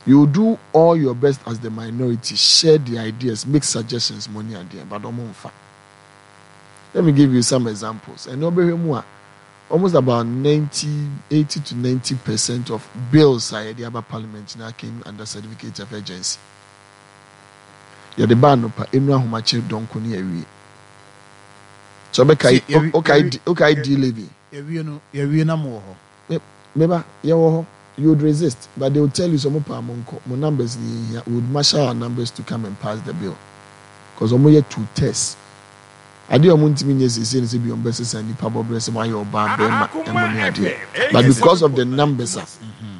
You do all your best as the minority, share the ideas, make suggestions mo ne adeɛ, but ɔmo nfa. Let me give you some examples. Ɛnɛ ɔbɛhwɛ mu a, almost about 90, 80 to 90% of bills a yɛde aba parliament na came under certificate of urgency. Yɛde ba anɔpa, enu ahomakye dɔnko ne awie. So ɔbɛkae, ɔkae D-levy. Yɛwie no, yɛwie na mo wɔ hɔ. Meba, yɛwɔ hɔ. You would resist, but they will tell you sɛ ɔmo paa mo nkɔ, mo numbers ni yɛn hia. We would marshal our numbers to come and pass the bill. Because ɔmo yɛ two tests. Adeɛ a ɔmo ntumi nyɛ seesei ne sɛ bi ɔmo bɛsesa nipa bɔbrɛ sɛ mo ayɛ ɔbaa bɛrima ɛmo ne adeɛ. But because of the numbers a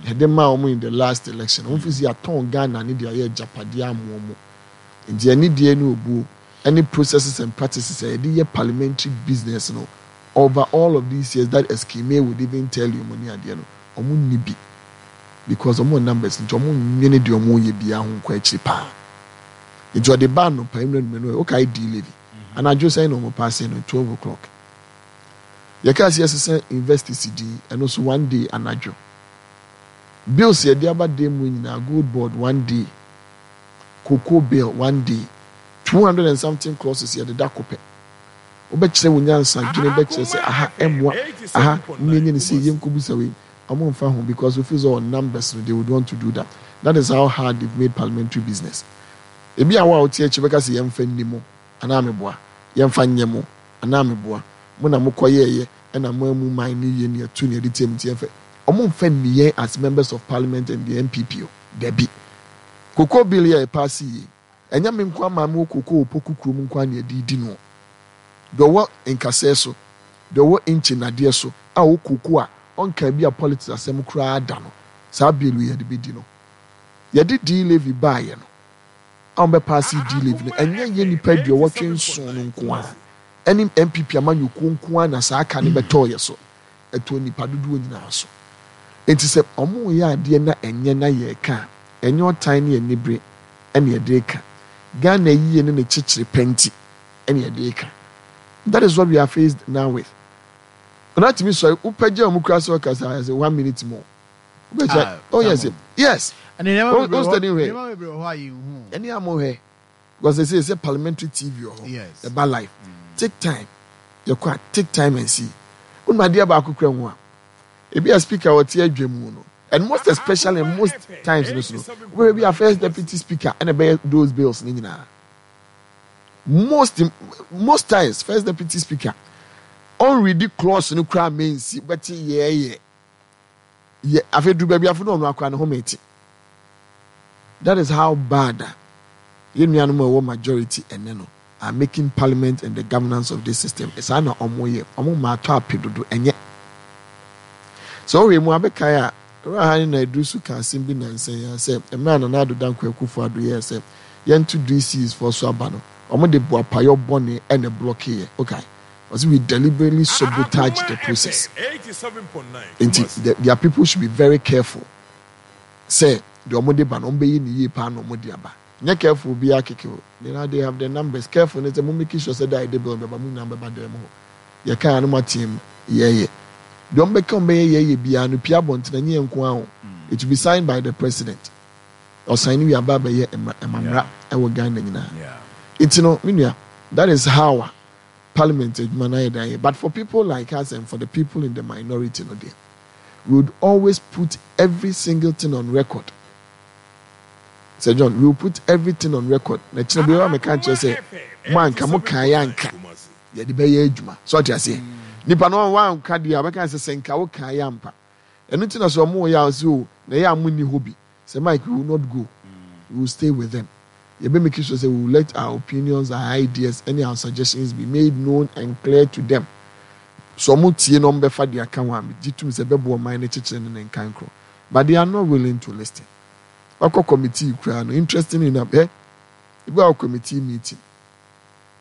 yɛde maa ɔmo in the last election, ɔmo fi sɛ yɛatɔn Ghana ne de ayɛ agyapadeɛ ama ɔmo. Nti anidie ne obuo ɛne processes and practices a yɛde yɛ parliamentary business no over all of these years that Eskime would even tell you mo ne adeɛ no, ɔmo nni bi because ɔmo wɔ numbers nti ɔmo nnwene deɛ ɔmo yɛ biara ho nkɔ akyiri paa. Nti ɔde ba anɔpa nnura numɛ no okae D-Levy anadwo sɛn na ɔmo paase no 12 o'clock. Yɛkaa sɛ yɛsesa universities din, ɛno nso one day anadwo. Bills yɛde aba dan mu nyinaa, Gold Board one day, Cocoa bill one day, 200 and something clauses yɛde da ko pɛ. Wobɛkyerɛ wo nyansa dwene bɛkyerɛ sɛ aha ɛmmoa, aha mmɛnyɛ ne sei, yɛnkɔbusa wei. Ɔmo mfa ho because we feel sɛ numbers no, they would want to do that. That is how hard they've made parliamentary business. Ebi a wo a wote akyi bɛka sɛ yɛmfa nni mo anaa meboa, yɛmfa nyɛ mo anaa meboa, mo na mokɔyɛɛyɛ ɛna mo amu man ne yie ne ɛtu ne ɛde tie mu nti yɛmfa. Ɔmo mfa nni yɛn as members of parliament and the NPP o, dabi. Cocoa bill yɛ ɛpaase yie, ɛnyɛ me nko ama me wɔ cocoa wɔ Poku kurom nko a na yɛde di no. Deɛ ɔwɔ nkasɛɛ so, deɛ ɔwɔ nkye nadeɛ so a ɔwɔ cocoa a ɔnka bi a politics asɛm koraa da no, saa bill yi yɛde bɛdi no. Yɛde D-levy baayɛ no, a wɔbɛpaase D-levy no, ɛnyɛ yɛ nipa 87 no nko a ɛne NPP amanyɔkuo nko a na saa aka no bɛtɔɔ yɛ so, ɛtɔɔ nipa dodoɔ nyinaa so. Nti sɛ ɔmo yɛ adeɛ na ɛnyɛ na yɛreka a, ɛnyɛ ɔtan ne anibere ɛna yɛde ka. Ghana yie ne ne kyekyere pɛ nti ɛna yɛde ka. That is what we are faced now with. Ɔna tumi sɔre wopɛgya ɔmo kura sɛ ɔkasa ayɛ sɛ one minute more. Wobɛgya, oh yes. O study hwɛ. Nneɛma bebree wɔ hɔ a yɛnhu. Ɛne a mo hwɛ because they say sɛ parliamentary TV wɔ hɔ. Ɛba live. Take time. Yɛkɔ a, take time and see. Wonum adeɛ baako kura ho a, ebi a speaker wɔte adwa mu no, and most especially most times no so no, wobɛhwɛ bi a first deputy speaker ɛna ɛbɛyɛ those bills ne nyinaa. Most times first deputy speaker ɔnredi clause no koraa mensi bɛte yɛɛyɛ yɛ afei duru baabi afei na ɔno akora ne ho mete. That is how bad a yɛn nuanom a ɛwɔ majority ɛnɛ no are making parliament and the governance of this system. Saa na ɔmo yɛ, ɔmo ma atɔ ape dodo. Ɛnyɛ sɛ ɔhwɛ mu abɛkae a ewura ha ne na eduru so ka asɛm bi nansa yi sɛ mmerɛ a Nana Addo Dankwa Akufo Addo yɛɛ sɛ yɛnto DCs foɔ so aba no, ɔmo de boapayɔ bɔne ɛna block yɛ. Okay, ɔsɛ we deliberately sabotage the process. Nti their people should be very careful sɛ deɛ ɔmo de ba no, ɔmo bɛyɛ ne yie paa na ɔmo de aba. Nyɛ careful biara keke o. Now they have the numbers. Careful ne sɛ mo make sure sɛ da yɛde bill bɛba, mo nyinaa bɛba dan mu hɔ. Yɛka a no mo ateɛ mu yɛyɛ deɛ ɔmo bɛka ɔmo bɛyɛ yɛyɛ biara no pia abɔnten, ɛnyɛ yɛn nko ara o. It will be signed by the president. Ɔsan ne wi aba abɛyɛ mmara ɛwɔ Ghana nyinaa. Nti no me nua, that is how a parliament adwuma no ayɛ dan yɛ. But for people like us and for the people in the minority no deɛ, we would always put every single thing on record. Sir John, we will put everything on record. Na kyerɛ bi wa meka nkyerɛ sɛ mo anka mo kan yɛ anka yɛde bɛyɛ adwuma so ɔte aseɛ. Nipa no wanka deɛ a ɔbɛka sɛ sɛ nka wo kan yɛ ampa. Ɛno nti na sɛ ɔmo yɛ a ɔsɛ o na ɛyɛ a mo nni hɔ bi sɛ Mike, we will not go, we will stay with them. Yɛbɛ make sure sɛ we will let our opinions, our ideas and our suggestions be made known and clear to them. So ɔmo tie na ɔmo bɛfa deɛ aka ho a, gye tum sɛ ɛbɛboa ɔman no kyekyere ne ne nkan korɔ, but they are not willing to listen. Wakɔ committee koraa no, interesting enough, ebi wɔ committee meeting,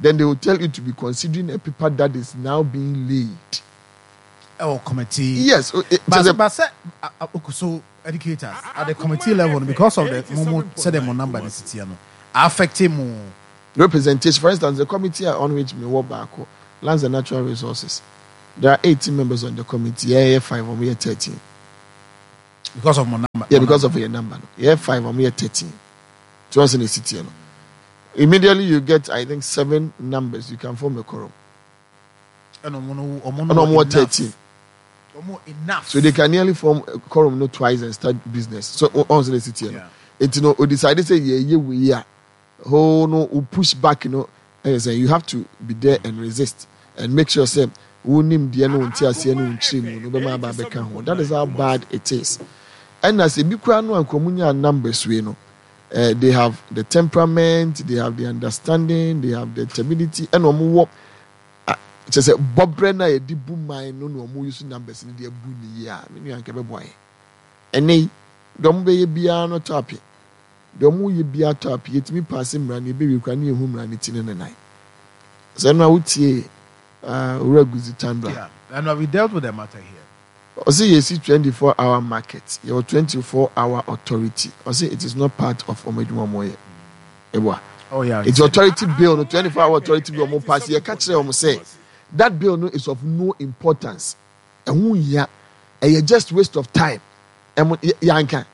then they will tell you to be considering a paper that is now being laid. Ɛwɔ committee. Yes. But sɛ okay, so educators at the committee level, because of the mo sɛ the mo number ne sitiɛ no affect mo representation. For instance, the committee on which me wɔ baako, Lands and Natural Resources, there are 18 members on the committee. Yeah, 5, we are 13. Because of mo number. Yeah, because of yɛ number no. Yɛ 5, ɔmo yɛ 13. Tí wɔn sɛ na esi teɛ no. Immediately you get, I think, seven numbers, you can form a quorum. Ɛna ɔmo no ɔmo no wɔ 13. Ɔmo enough. So they can nearly form a quorum no twice and start business. So ɔn sɛ na esi teɛ no. Eti no o decide sɛ yɛ yɛ wei a whole no o push back no ɛyɛ sɛ you have to be there and resist and make sure sɛ wo nimdeɛ ne wo nteaseɛ ne wo nkyerɛmu no bɛma aba abɛka ho. That is how bad it is. Ɛna sɛ ebi koraa no a nka ɔmo nyaa numbers wei no eh, they have the temperament, they have the understanding, they have the stability ɛna ɔmo wɔ kyerɛ sɛ bɔbrɛ no a yɛde bu man no na ɔmo use numbers no de abu ne yie a me nua nka ɛbɛboa yɛn. Ɛnɛ yi deɛ ɔmo bɛyɛ biara no tɔ ape. Deɛ ɔmo yɛ biara tɔ ape. Yɛtumi paase mmara no yɛbɛwie koraa ne yɛhu mmara no ti ne ne nan. Sɛ ɛno a wotie Owura Guzi Tandra. Yeah, and we dealt with the matter here. Ɔse yɛsi 24 hour market, yɛwɔ 24 hour authority. Ɔse it is not part of ɔmo adwuma ɔmo yɛ. Ɛboa. Oh yeah. Nti authority bill no 24 hour authority bill ɔmo pass yɛka kyerɛ ɔmo sɛ that bill no is of no importance. Ɛho nhia. Ɛyɛ just waste of time. Ɛmo yɛanka.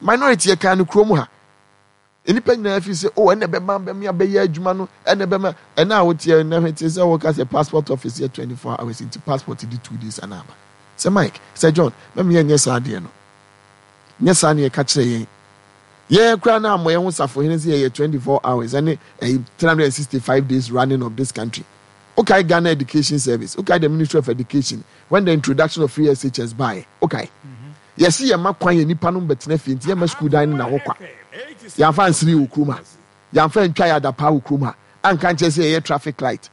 Minority yɛkaa no kurom ha. Nnipa nyinaa fi sɛ, oh, ɛna ɛbɛma bɛme abɛyɛ adwuma no, ɛna ɛbɛma, ɛna a woteɛ nnɛ hwɛ te sɛ woka sɛ passport office yɛ 24 hours nti passport di 2 days ana aba. Sɛ Mike, sɛ John, mɛma yɛnyɛ saa adeɛ no. Nyɛ saa ne yɛka kyerɛ yɛn. Yɛn koraa na ammɔ yɛn ho safohene sɛ yɛyɛ 24 hours ɛne ɛyi 365 days running of this country. Wokae Ghana Education Service, wokae the Ministry of Education when the introduction of free SHS baeɛ, wokae? Yɛse yɛma kwan yɛ nipa nom bɛtena fie nti yɛmma sukuu dan no na hɔ kwa. Yɛamfa ansere wɔ kurom ha. Yɛamfa antwa yɛ adapaa wɔ kurom ha. Anka ankyerɛ sɛ yɛyɛ traffic light.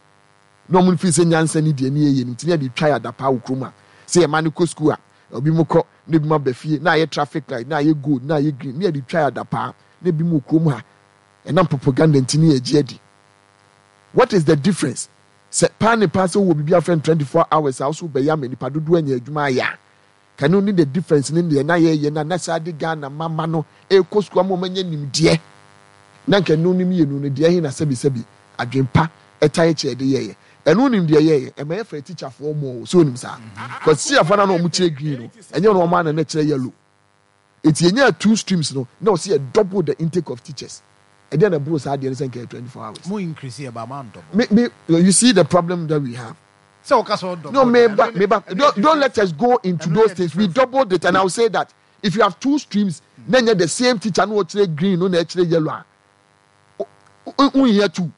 Na ɔmo feel sɛ nyansa ni deɛ ne yɛyɛ no nti ne yɛde twa yɛ adapaa wɔ kurom ha. Sɛ yɛma no kɔ sukuu a, ebi mo kɔ na ebi mo aba fie na ayɛ traffic light na ayɛ gold na ayɛ green ne yɛde twa yɛ adapaa na ebi mo wɔ kurom ha. Ɛnam propaganda nti ne yɛgye adi. What is the difference? Sɛ paa ne paa sɛ wowɔ biribi a wɔfrɛ no 24 hours a wo so wobɛyɛ ama nipa dodoɔ anya adwuma ayɛ a, Ka no ne the difference ne deɛ na yɛyɛ na na saa de Ghana mma mma no ɛrekɔ sukuu ama wɔn anya nimdeɛ na nka ɛno ne mmienu no deɛ ɛhe na sɛbi sɛbi adwen pa ɛtae kyɛ ɛde yɛyɛ ɛno nim deɛ yɛyɛ ɛma yɛfrɛ teacherfoɔ mɔ o sɛ onim saa cause teacherfoɔ na na wɔn kyerɛ green no ɛnyɛ wɔn ana na kyerɛ yellow. Eti yɛnyaa two streams no na ɔsɛ yɛ double the intake of teachers. Ɛdeɛn na ɛboro saa adeɛ no sɛ nka yɛ 24 hours. Mo increase yɛ ba mo an double. Me me you see the problem that we have. Sɛ ɔka sɛ ɔdouble. No me ba me ba don't let us go into those things we doubled it and I will say that if you have two streams na nyɛ the same teacher na ɔkyerɛ green no na ɛkyerɛ yellow a wonhia two.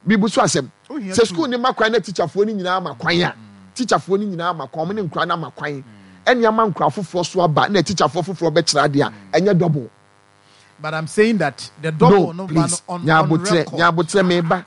Mibu so asɛm. Sɛ sukuu no ma kwan na tikyafoɔ no nyinaa ma kwan a, tikyafoɔ no nyinaa ma kwan, wɔn ne nkwadaa no ama kwan, ɛne ama nkwadaa foforɔ so aba na tikyafoɔ foforɔ bɛkyerɛ adeɛ a, ɛnyɛ double. But I'm saying that the double no, please, no, on, on record. Nyabotrɛ meba.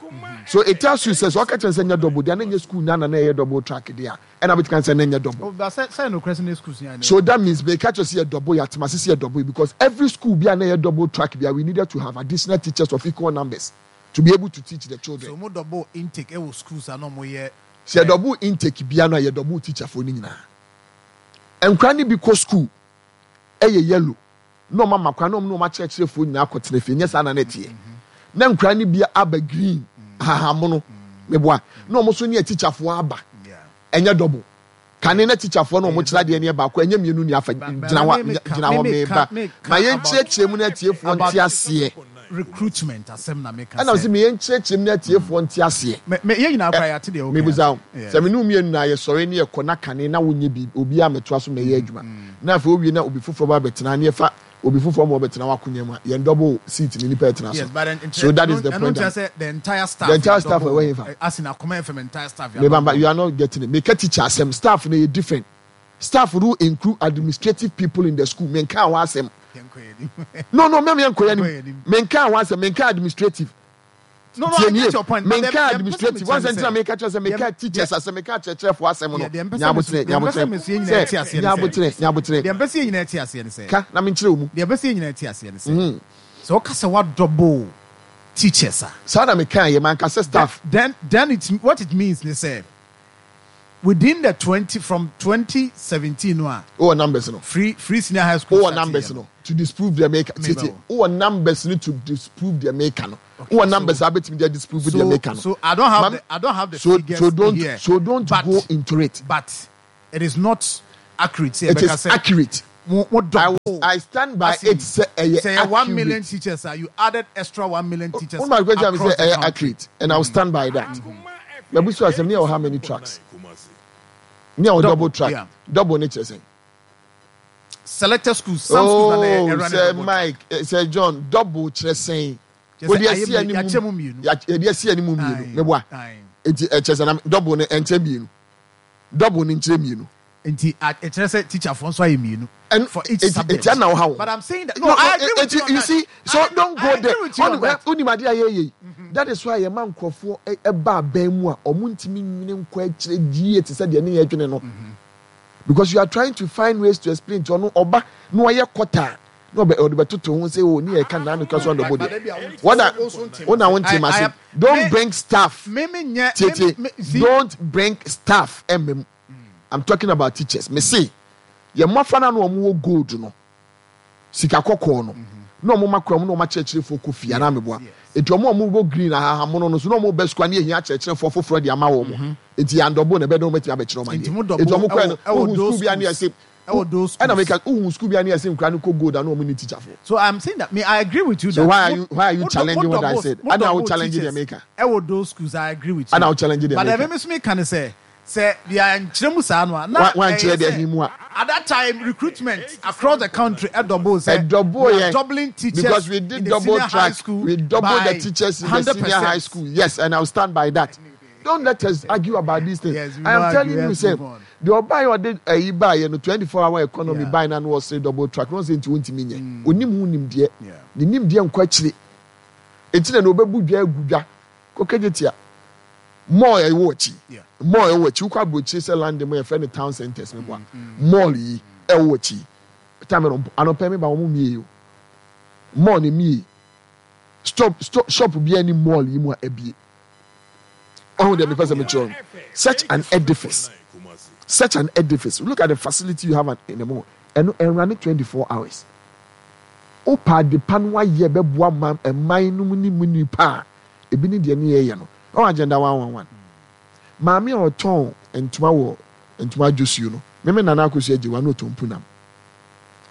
So it tells you sɛ sɛ ɔka kyerɛ sɛ nyɛ double deɛ na nyɛ school na na ɛyɛ double track deɛ a ɛna bɛtumi sɛ na nyɛ double. Oh, but sɛ sɛ no question school So that means meka kyerɛ sɛ yɛ double yɛ atema sɛ yɛ double because every school bi a na ɛyɛ double track bi a we needed to have additional teachers of equal numbers. To be able to teach the children. So mo double intake ɛwɔ schools a na ɔmo yɛ. Sɛ yɛ double intake bia no a yɛ double teacher foɔ no nyinaa. Nkwadaa no bi kɔ school ɛyɛ yellow na ɔmo ama kwan na ɔmo ne ɔmo akyerɛkyerɛ foɔ nyinaa akɔ tena fie nyɛ saa na na ɛteɛ. Na nkwadaa no bi aba green ahahammono meboa na ɔmo nso ne teacher foɔ aba ɛnyɛ double. Kane na tikyafoɔ no a wɔkyerɛ adeɛ no yɛ baako, ɛnyɛ mmienu ni afa gyina hɔ gyina hɔ meba ma yɛnkyerɛkyerɛ mu na atiefoɔ nte aseɛ. Recruitment asɛm na meka sɛ. Ɛna sɛ meyɛ nkyerɛkyerɛ mu na atiefoɔ nte aseɛ. Me yɛn nyinaa koraa yɛate deɛ woka. Mebusa wo sɛ me ne wo mmienu na yɛsɔre ne yɛkɔ na kane na wonyɛ biribi obiara mmɛtoa so mmɛyɛ adwuma na afei wowie na obi foforɔ ba bɛtena ne yɛfa obi foforɔ ma ɔbɛtena w'akonya mu a yɛn double seat ne nipa ɛtena so. Yes, but then, so that is the point. Ɛno sɛ the entire staff. The entire staff ɛwɔ hefa. As in Akoma FM entire staff. Mebamba you are not getting it. Meka teacher asɛm staff no yɛ different. Staff no include administrative people in the school. Menka ho asɛm. No no mɛm yɛn nkɔyɛ nim. Menka ho asɛm. Menka administrative. No, no, I get your point. Menka administrative. Wɔn sɛ ntina meka kyerɛ sɛ meka teachers asɛm meka akyerɛkyerɛfoɔ asɛm no. Nyabotrɛ nyabotrɛ sɛ nyabotrɛ nyabotrɛ. Deɛ mpɛ sɛ yɛn nyinaa te aseɛ ne sɛ. Ka na menkyerɛ wo mu. Deɛ mpɛ sɛ yɛn nyinaa te aseɛ ne sɛ. Sɛ ɔka sɛ wa double teachers a. Saa na meka yɛ manka sɛ staff. Then it what it means ne sɛ within the 20 from 2017 no a. Wowɔ numbers no. Free senior high school. Wowɔ numbers no to disprove deɛ meka tietie. Wowɔ numbers no to disprove deɛ meka no. Wowɔ numbers a wobɛtumi de disprove deɛ meka no. So I don't have the I don't have the so, figures so don't here. So don't but, go into it. But it is not accurate. It is accurate. Mo mo I double. I stand by As in it sɛ ɛyɛ sɛ yɛ 1 million accurate. teachers a, you added extra 1 million teachers Wo ma question mi across sɛ the ɛyɛ country. accurate and I will stand by that. Mabu so asɛm ne yɛ wɔ how many tracks? Ne yɛ wɔ double Double, track. yeah. Double ne kyerɛ sɛn? Selected schools, some schools na na Oh, ɛrun sɛ double track. Mike, sɛ John, double kyerɛ sɛn? Kyerɛ Wode sɛ ayɛ asi mmienu, anim yɛakyɛ mu mmienu. Yɛde asi anim mmienu. Aye, Meboa. aye. Enti ɛkyerɛ sɛ na double no ɛnkyɛ mmienu. Double no nkyerɛ mmienu. Nti ɛkyerɛ sɛ teacherfoɔ nso ayɛ mmienu And for each eti subject. eti ana ɔha wo. But I'm saying that no, No, I agree with you on you that. see, so I, don't I go agree there. with you on that. Onim ade a yɛyɛ yi. That is why yɛma nkurɔfoɔ ɛba abɛn mu a ɔmo ntumi nwene nkɔ akyerɛ yie te sɛ deɛ ne yɛ dwene no. Because you are trying to find ways to explain to ɔno ɔba na ɔyɛ kɔta na ɔbɛ ɔde bɛtoto ho sɛ o ne yɛ ka naa no kura so But andɔbɔ but deɛ. ebi a won't Wɔna wo nso nte wɔna mase. wɔn I ntoma I se am don't me bring staff me me nyɛ me tietie me see. don't bring staff ɛmɛ mu. I'm talking about teachers. Mese yɛ mmɔfra na na wɔn wɔ gold no sika kɔkɔɔ no na wɔn ma kura mu na wɔn akyerɛkyerɛfoɔ kɔ fie anaa meboa eti wɔn a wɔn wɔ green ahahamono no so na wɔn bɛ sukuu ani ehia akyerɛkyerɛfoɔ foforɔ de ama wɔn eti yɛn andɔbo na ɛbɛ dɔn wɔn atumi abɛkyerɛ wɔn Nti adeɛ mo eti double wɔn kura ɛwɔ no ɛwɔ wohu those sukuu bi ani schools ɛsɛ ɛwɔ those ɛna schools. meka wohu sukuu bi ani ɛsɛ nkura no kɔ gold ano wɔn ni teacher foɔ. So I'm saying that me I agree with you So that why are mo you why are you mo mo challenging what I double said? mo Ana wo double challenging the teachers maker? ɛwɔ those schools, I agree with Ana you. wo challenging the But maker? ɛmɛ mi so mi ka ne sɛ sɛ deɛ nkyerɛ mu saa no a na Wa wa ɛyɛ nkyerɛ deɛ sɛ hin mu a. at that time recruitment across the country ɛdouble sɛ Ɛdouble we are yɛ doubling because teachers we in did the double senior high track. school We double the by teachers in the hundred senior high percent. school. Yes, and I'll stand by that. Don't let us argue about these things. Yes, we I no am argue. telling you, Let's say move on. the ọba yi ɔde ɛyi ba yɛ no 24 hour economy Yeah. buy na no ɔsere double track no ɔsɛ nti wɔntumi nyɛ onim ho nimdeɛ ne nimdeɛ nkɔ akyire eti na na obebu dwa egu dwa kɔkɛgye tia mall ɛwɔ akyi mall ɛwɔ akyi wokɔ aburokyire sɛ London mu yɛfrɛ no town centers mi bɔ a mall yi ɛwɔ akyi time no anɔpɛ mi ba wɔn mie o mall ne mie stop stop shop bi ani mall yi mu a ebie ɔhun deɛ mepɛ sɛ mekyerɛ no. Such an edifice, such an edifice, look at the facility you have in the mall. Ɛno ɛnrane 24 hours. Wopa adepa no wayɛ bɛboa ma ɛman no mu ne mu nipa a ebi ne deɛ ne yɛyɛ no ɔwɔ Agenda 111. Maame a ɔtɔn ntoma wɔ ntoma adwosuo no meme nana Akosua agye wa na ɔtɔn punam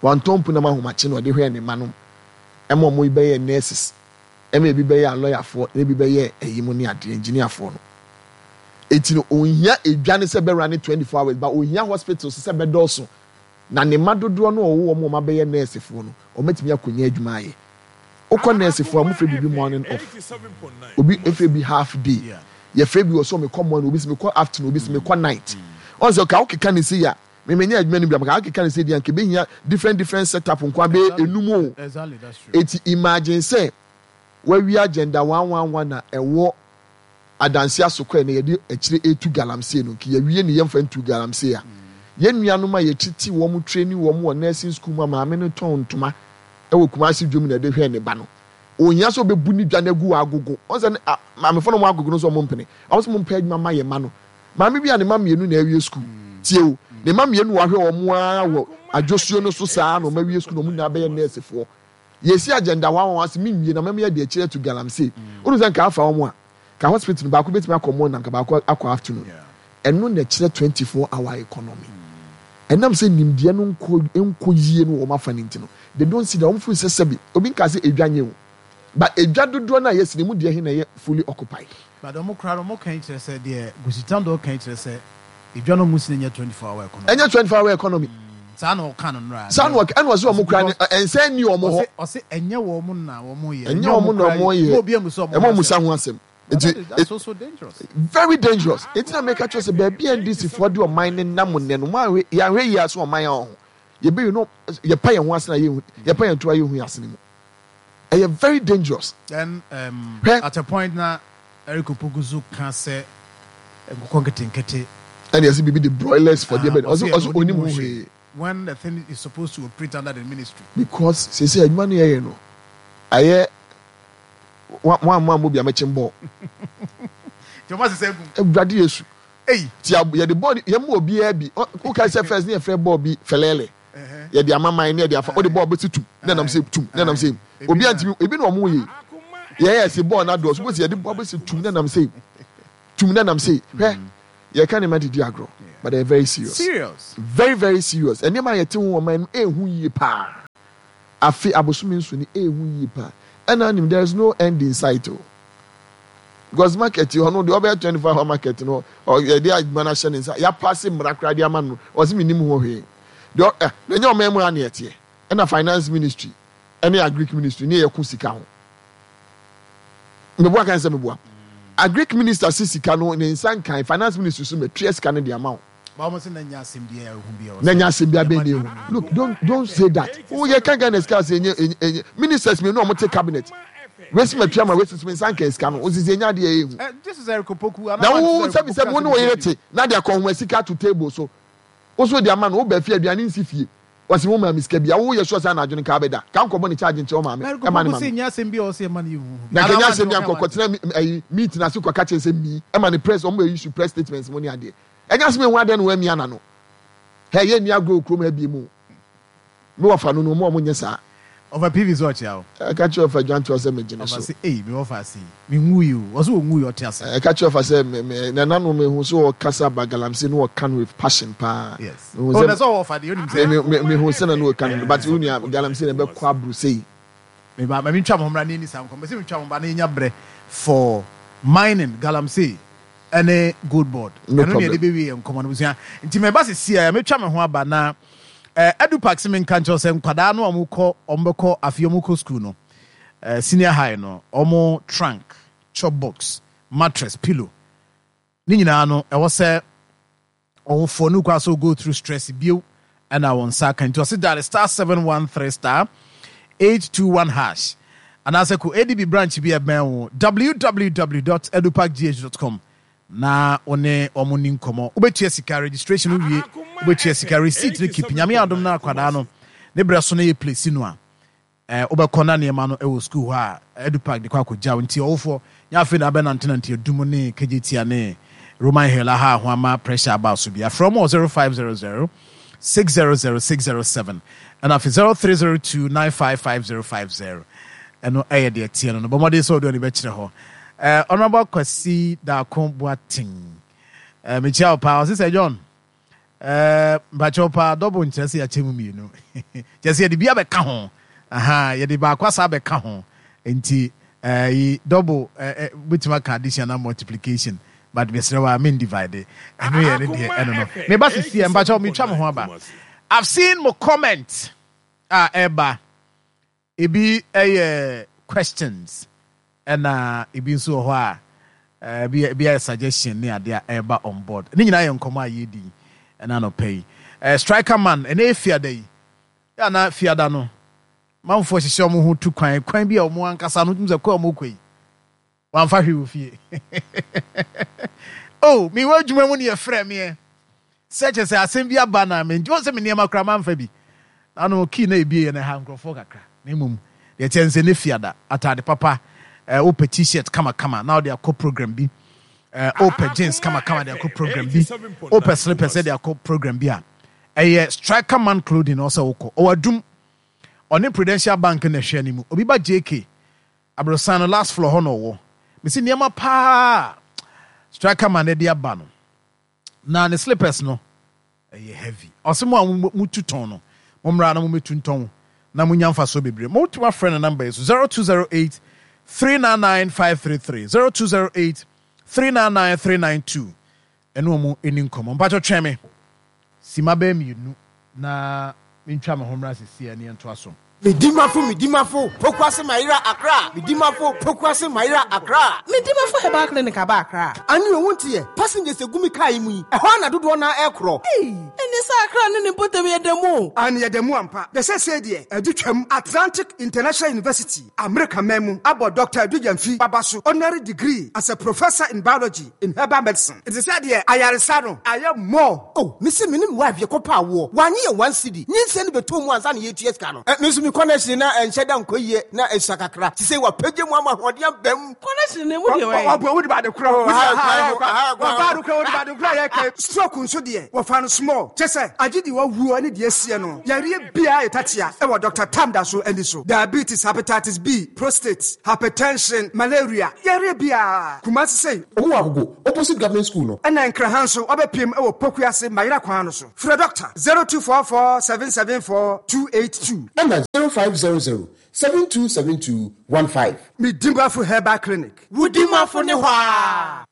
wantɔn punam ahomakye na ɔde hwɛɛ ne ma no ɛma ɔmo bɛyɛ nurses, ɛma ebi bɛyɛ alɔyafoɔ na ebi bɛyɛ ɛyi mu ne adeɛ engineerfoɔ no. Eti no ohia edwa ne sɛ bɛwura ne 24 hours but ohia hospitals sɛ bɛdɔɔso na ne ma dodoɔ no a ɔwɔ wɔn a wɔn abɛyɛ nursefoɔ no wɔn atumi akɔnya adwuma ayɛ. Wokɔ nursefoɔ a wɔn fɛ biribi morning off, obi efɛ bi half day, yɛfrɛ bi wɔ so mekɔ morning, obi sɛ mekɔ afternoon, obi sɛ mekɔ night. Ɔn sɛ ɔka wokeka ne se ya mmemme adwuma no bi amaka wokeka ne se deɛ nka ebɛhia different different setup nko abɛyɛ enum o. Exactly, that's true. Eti imagine sɛ wawie Agenda 111 na ɛwɔ adansi asokɔ na yɛde akyire etu galamsey no nka yɛwie ne yɛmfa ntu galamsey a yɛn nuanom a yɛtete wɔn training wɔn wɔ nursing school mu a maame no tɔn ntoma ɛwɔ Kumasi dwom na ɛde hwɛ ne ba no ohia sɛ ɔbɛbu ne dwa no agu wɔ agogo. Ɔn sɛ maamefo no wɔn agogo no nso wɔn mpene wɔn sɛ wɔn mpɛ adwuma ma yɛ ma no. Maame bi a ne ma mmienu na awie school tie o, ne ma mmienu wahwɛ wɔn ara wɔ adwosuo no so saa na wɔn awie school na wɔn nyinaa bɛyɛ nursefoɔ. Yɛsi Agenda 111 ase mi nwie na mɛmɛ yɛ de akyire atu galamsey. Wɔn sɛ nka afa wɔn a ka hospital no baako bɛtumi akɔ morning na nka baako akɔ afternoon. Ɛno na ɛkyerɛ 24 hour economy. Ɛnam sɛ nimdeɛ no nkɔ nkɔ yie no wɔn afa ne nti no they don't see that. Wɔn feel sɛ sɛbi obi nka sɛ edwa nye o, but edwa dodoɔ no a yɛsi ne mu deɛ he na ɛyɛ fully occupied. But ɔmo kora no ɔmo kan kyerɛ sɛ deɛ Gositando kan kyerɛ sɛ edwa no ɔmo si no nyɛ 24 hour economy. Ɛnyɛ 24 hour economy. Saa na ɔka no nora. Saa na ɔka ɛna ɔsɛ ɔmo kora ne ɛnsɛn ni ɔmo hɔ. Ɔsɛ ɔsɛ ɛnyɛ wɔn na wɔn yɛ. Ɛnyɛ ɔmo na ɔmo yɛ. Ɛmɔ obi emusa ɔmo ɛmɔ ɔmo sa ho asɛm. Nti that's also dangerous. Very dangerous. Eti na meka kyerɛ sɛ baabi a NDC foɔ de ɔman ne nam nnɛ no mo ahwɛ yɛahwɛ yie ase ɔman a ɔho yɛbɛyi no yɛpa yɛn ho ase na yɛhu yɛpa yɛn to a yɛhu ase ne mu ɛyɛ very dangerous. Then Hwɛ. at a point na Eric Opoku so ka sɛ nkokɔ nketenkete. Ɛna yɛsɛ biribi de broilers for deɛ Ah, bɛ ɔsɛ ɔsɛ ɔsɛ ɛno onim ho onim ho hwee. When the thing is supposed to operate under the ministry. Because sese adwuma no yɛyɛ no ayɛ wɔn a mo a mo bi a mɛkye bɔɔl. Nti ɔmo asesa egu. Awurade Yesu. Eyi. Ti a yɛde bɔɔl yɛn mu obiara bi woka sɛ first ne yɛfrɛ bɔɔl bi fɛlɛɛlɛ yɛde amaman ne yɛde afa wode bɔɔl bɛsi tum ne nam sɛ tum ne nam sɛ obiara ntumi ebi na ɔmo yɛ yɛyɛ ɛsɛ bɔɔl na dɔɔso bɔsi yɛde bɔɔl bɛsi tum ne nam sɛ tum ne nam sɛ hwɛ yɛka ne ma didi agorɔ. But ɛyɛ very serious. Serious. Very very serious. Nneɛma a yɛte ho wɔ man mu ɛɛhu yie paa. Afe abosome nso ni ɛɛhu yie paa. Ɛna anim there is no end in sight o. Because market yi ɔno deɛ ɔbɛyɛ 24 hour market no yɛde adwuma no ahyɛ ne nsa yɛapase mmara koraa de ama no ɔse menim ho hwee. Deɛ ɛ na ɛnyɛ ɔman mu ha na yɛteɛ. Ɛna finance ministry ɛne agric ministry ne yɛko sika ho. Meboa kan sɛ meboa. Agric minister se sika no ne nsa nkan, finance ministry so matua sika no de ama wo. Ba wɔn se na nya asɛm biara ehu bi a. Na nya asɛm biara bɛn na ehu. Look, don't don't say that. Wo yɛ kan Ghana sika sɛ enye enye ministers mmienu a wɔn te cabinet. Wesi matua ma wesi so me nsa nkan sika no. Osisi enya adeɛ ehu. Eh, this is Eric Opoku. Na wo sɛbi sɛbi wo ne wo yere te na de akɔnhoma sika to table so. Wo so de ama no, wo ba fie aduane nsi fie. Ɔse wo maame sika bi a, wo yɛ sure sɛ anadwo no nka abɛda? Ka nkɔbɔ ne charge nkyerɛ wo maame, ɛma ne maame. Na nka ɛnyɛ asɛm bi a nka ɔkɔtena ayi meeting ase kɔka kyerɛ sɛ mii ɛma ne press ɔmo bɛ issue press statements mo ne adeɛ. Ɛnyɛ asɛm ehu adɛn na wamia n'ano. Hɛ yɛ nni agorɔ wɔ kurom ha biem o. Me wɔfa no no ɔmo a ɔmo nyɛ saa. Ɔfa PV sɛ ɔkyea wo. Ɛka kyerɛ ɔfa Dwantoa sɛ megye ne so. Ɔfa se ei me wɔfa ase yi me nwui o ɔse ɔnwui ɔte ase. Ɛka kyerɛ ɔfa sɛ me me nananom mehu sɛ ɔkasa ba galamsey no ɔka no with passion paa. Yes. Mehu sɛ oh na sɛ ɔwɔ ɔfa deɛ onim sɛ. Me me mehu sɛ na no ɔka no but wo nua galamsey na ɛbɛkɔ aboro sei. Me ba ma mentwa mo ho mmra na yɛnni saa nkɔmmɔ mese metwa mo ba na yɛnya berɛ for mining galamsey. Ɛne gold board. No Ɛno ne problem. yɛde bɛwie yɛn nkɔmmɔ no abusua. Nti meba sisi a mɛtwa me ho aba na eh, Edu Park se menka nkyerɛ wo sɛ nkwadaa no a wɔkɔ wɔbɛkɔ afei wɔkɔ school no eh, senior high no wɔn trunk, chop box, mattress, pillow ne nyinaa no ɛwɔ sɛ Ɔwofoɔ no kɔ so go through stress bio ɛna wɔn nsa aka nti ɔse dial star 713 star 821 hash anaasɛ kɔ ADB branch bi a ɛbɛn wo www.eduparkgh.com na wo ne wɔn ni nkɔmmɔ wobɛtua sika registration no wie wobɛtua sika receipt no keep nyame adom no akwadaa no ne berɛ so no yɛ place no a Eh, wobɛkɔ na nneɛma no wɔ sukuu hɔ a, Edupark de kɔ akɔgyaw. Nti ɔwofoɔ, nyɛ afei na abɛnantenante Adum ne Kejetia ne Roman Hill aha ho ama pressure aba wo so bi. Afrɛ wɔn wɔ 0500 600 607 ɛna afei 0302 955050. Ɛno ɛyɛ deɛ ɛteɛ no no. Bɔ mmɔden sɛ wode w'ani bɛkyerɛ hɔ. Eh, Honourable Kwasi Darko Boateng, eh, mekyia wo paa. Ɔse sɛ John, Eh, mpakyɛw paa, double nkyerɛ sɛ yɛakyɛ mu mmienu. Kyerɛ sɛ yɛde bi abɛka ho. Aha, yɛde baako asa abɛka ho. Nti, eh, yi, double, eh, eh, wobɛtumi aka addition anaa multiplication, but mesrɛ wo a, men divide. Ɛno yɛ ne deɛ, ɛno no. Meba sisi ɛ, mpakyɛw, metwa me ho aba. I've seen mo comment a ɛba. Ebi yɛ questions ɛna ebi nso wɔ hɔ a ebi ebi ayɛ suggestion ne adeɛ a ɛreba on board. Ne nyinaa yɛ nkɔmɔ a yɛredi ɛna anɔpa yi. Striker man ɛnɛ yɛ fiada yi. Yɛ ana fiada no manfoɔ hyehyɛ wɔn ho tu kwan kwan bi a wɔn ankasa no tumi sɛ kɔ a wɔn kɔ yi. Wamfa hwee wɔ fie. Oh, mewɔ adwuma mu ne yɛfrɛ meɛ sɛ kyɛ sɛ asɛm bi aba na me nti wɔn sɛ me nneɛma koraa mamfa bi. Na no kii na ebie yɛ na ɛha nkurɔfoɔ kakra. Na mmom deɛ kyɛ nsɛ ne fiada ataade papa, eh, wopɛ t-shirt kamakama na wode akɔ program bi, eh, wopɛ jeans kamakama de akɔ program bi, wopɛ slippers de akɔ program bi a, ɛyɛ Striker Man Clothing na ɔsɛ wokɔ. Ɔwɔ adum, ɔne Prudential Bank na ɛhwɛ ne mu. Obi ba JK Aborosan no last floor hɔ na ɔwɔ. Mese nneɛma paa a striker man de aba no na ne slippers no ɛyɛ heavy. Ɔse mo a mo tu tɔn no mo mmra na mo mɛtu ntɔn na mo nya mfasoɔ bebree. Mo tumi afrɛ no number yi so 0208 399 533 0208 399 392 ɛne wɔn ɛni nkɔmmɔ. Mpakyɛ twɛn me sima bɛyɛ mmienu na mentwa me ho mmra sesie ne yɛntoa so. Medimafo Medimafo Pokuase Mayera Accra Medimafo Pokuase Mayera Accra. Medimafo Herbal Clinic aba Accra. Ane o wonte yɛ, passengers egu me car yi mu yi, ɛhɔ ara na dodoɔ no ara ɛrekorɔ. Ei, ɛnneɛ sɛ Accra ne ne mpɔtam yɛ da mu o. Aane yɛda mu ampa. Na seesei deɛ adu twam. Atlantic International University, Amerika man mu, abɔ Dɔkta Adu Gyamfi Baba so honorary degree as a Professor in Biology in Herbal Medicine. Nti sɛ deɛ ayaresa no ayɛ more. Oh, mese me ne me wife yɛkɔ paa woɔ, wannye yɛn one cedi, nyinsɛn no bɛtɔɔ mu ansa na yɛretua sika no. Eh, me nso me. me connection na ɛnhyɛ da nkɔ yie na ɛsua kakra. Sisei wapagya mu ama ahoɔden aba mu. Connection no emu deɛ wɛn? Ɔboa wode bade korɔ. Wɔba ade korɔ wode bade korɔ yɛ kɛ. Stroke nso deɛ wɔfa no small. Kyɛ sɛ agye deɛ wawuo ne deɛ asie no. Yareɛ biara yɛ tatea wɔ Doctor Tam da so ani so. Diabetes, hepatitis B, prostate, hypertension, malaria, yareɛ biara. Kumasi sei. Ɔmo wɔ Agogo, opposite government school no. Ɛna Nkraha nso wabɛpiem wɔ Pokuase Mayera kwan no so. Frɛ Dɔkta, 0244 774 282. Ɛna 0500 7272 15. Me Dimafo Herbal Clinic. Wo Dimafo ne hɔ aa.